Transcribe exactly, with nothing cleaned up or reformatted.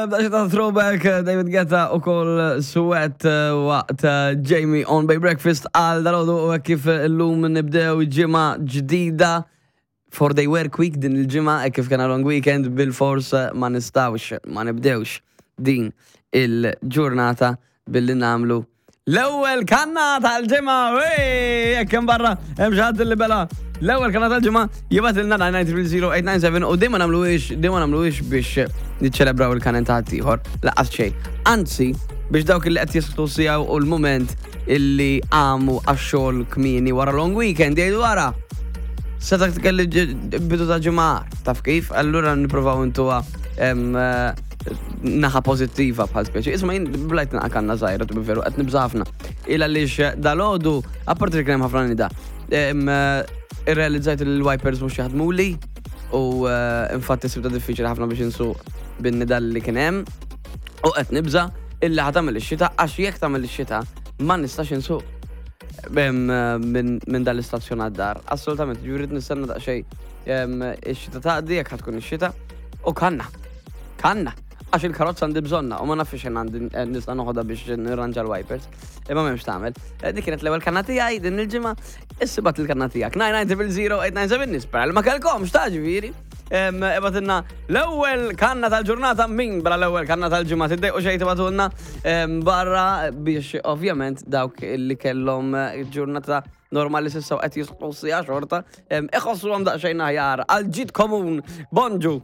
Bdax ta' throwback David Guetta u kol Sweat eh, waqt eh, Jamie on Bay Breakfast għal dalodu u kif l-lum nibdew ġimgħa ġdida four day work week din il-ġimgħa e kif kena long weekend bil-fors eh, ma nistawx ma nibdewx din il-ġurnata billi namlu l-ewwel kanna tal-ġimgħa, wey, jekk hemm barra hemm xi ħadd li bela l-ewwel kanna tal-ġimgħa jibgħatilna nine nine zero eight nine seven u dejma nagħmluhiex dejma nagħmluhiex biex niċċelebraw il-kanen ta' ieħor laqas xejn. Anzi, biex dawk li qed jisħtu sijaw u l-moment illi għamu għax-xogħol kmieni wara long weekend jgħidu wara. Seta kelli bidu ta' ġimgħa, taf kif? Allura nippruvaw intuha em, eh, naħa pozittiva bħal speċi. Isma' jien blajt naqa kanna żgħira, tu veru qed nibża' ħafna. Illa għaliex dalodu, apparti li kien hemm ħafna nida, em, eh, irrealizzajt li l-wipers mhux jaħdmuli u eh, infatti sibta diffiċli ħafna biex insuq bin-nida li kien hemm u qed nibża' illi ħa tagħmel ix-xita, għax jekk tagħmel ix-xita ma nistax insuq em, minn min dal-istazzjon għad-dar. Assolutament, ġifieri nistenna daqsxejn em, ix-xita taqdi jekk ħa tkun ix-xita u kanna. Kanna. Għax il-karozza għandi bżonna u ma nafx xejn għandi eh, nista' noħodha biex nirranġa l-wipers. Imma m'hemmx tagħmel. Eh, Dik kienet l-ewwel kanna tiegħi din il-ġimgħa. Issa ibgħat il-kanna tiegħek. nine nine zero eight nine seven, nispera li ma kellkomx ta' ġifieri. Em, Ibgħatilna l-ewwel kanna tal-ġurnata, min bla l-ewwel kanna tal-ġimgħa, tiddejqu xejn tibgħatulna em, barra biex ovvjament dawk li kellhom eh, ġurnata normali s'issa u qed jisħu sija xorta em, iħossuhom daqsxejn aħjar għal ġid komun. Bonġu.